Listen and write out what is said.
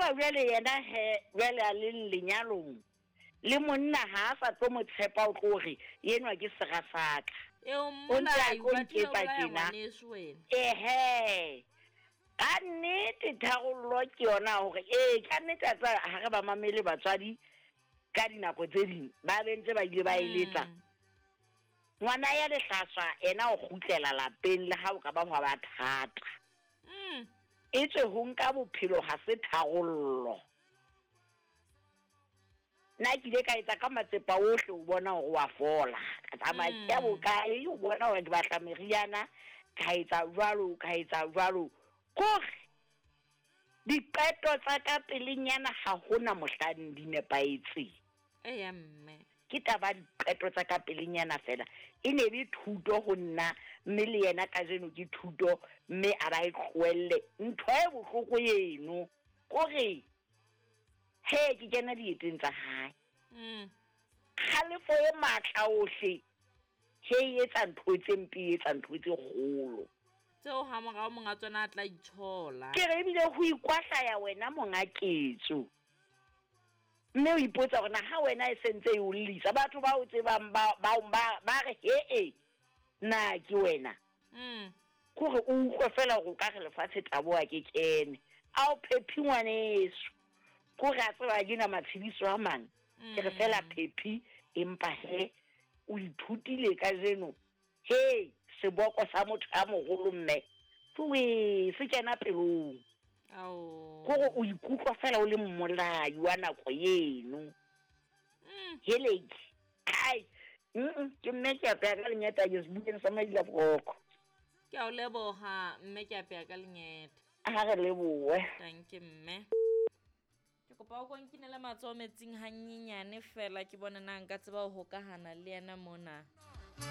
tseba jwale yena he jwale a leng lenyalong le monna ha a sa tlo mo tshepa o tlo re enwa ke sera sa ka. Eo O ntse a mmolai tlo o batlile o nketsa bolaya tjena. ngwaneso wena. Ehe. Ka nnete tharollo ke yona hore ee ka nnete a tseba ha re ba mamele batswadi ka dinako tse ding ba be ntse ba ile ba eletsa. Ngwana ya lehlaswa ena o kgutlela lapeng le ha o ka ba hwa ba thata. Etswe ho nka bophelo ha se tharollo. Nna ke ile ka etsa ka matsepa ohle ho bona hore wa fola. Ka tsamaya ke ya bokae ho bona hore ke batla meriana, ka etsa jwalo, ka etsa jwalo. Kore diqeto tsa ka pelenyana ha hona mohlang di nepahetseng. Eya mme. Ke taba ya diqeto tsa ka pelenyana fela. E ne le thuto ho nna mme le yena kajeno ke thuto mme a ba e tlohelle. Ntho e bohloko eno kore he ke kena dieteng tsa hae. Kgalefo e matla ohle he e etsa ntho tse mpe, e etsa ntho tse kgolo. Tseo ha morao monga tsona a tla itshola. Ke re ebile ho ikwahlaya wena monga ketso. Mme o ipotsa hore na ha wena e sentse e o llisa batho ba o tsebang ba ba ba ba re he na ke wena. Kore o utlwe fela hore o ka re lefatshe taboha ke kene. A o phephi ngwaneso. Kore a tseba ke na matshediso a mang. Ke re fela phephi empa he o ithutile kajeno. He seboko sa motho a moholo mme. Tloe se kena pelong. Kore o ikutlwa fela o le mmolai wa nako eno. Heleke. Ai. Ke mme ke apeya ka lengeta ke sebukeng sa Maila Boroko. Ke a o leboha mme ke apeya ka lengeta. Ha re lebohe. Thank you mme. Ke kopa o konkinele matsoho metsing hanyenyane fela ke bone na nka tseba ho hokahana le yena mona.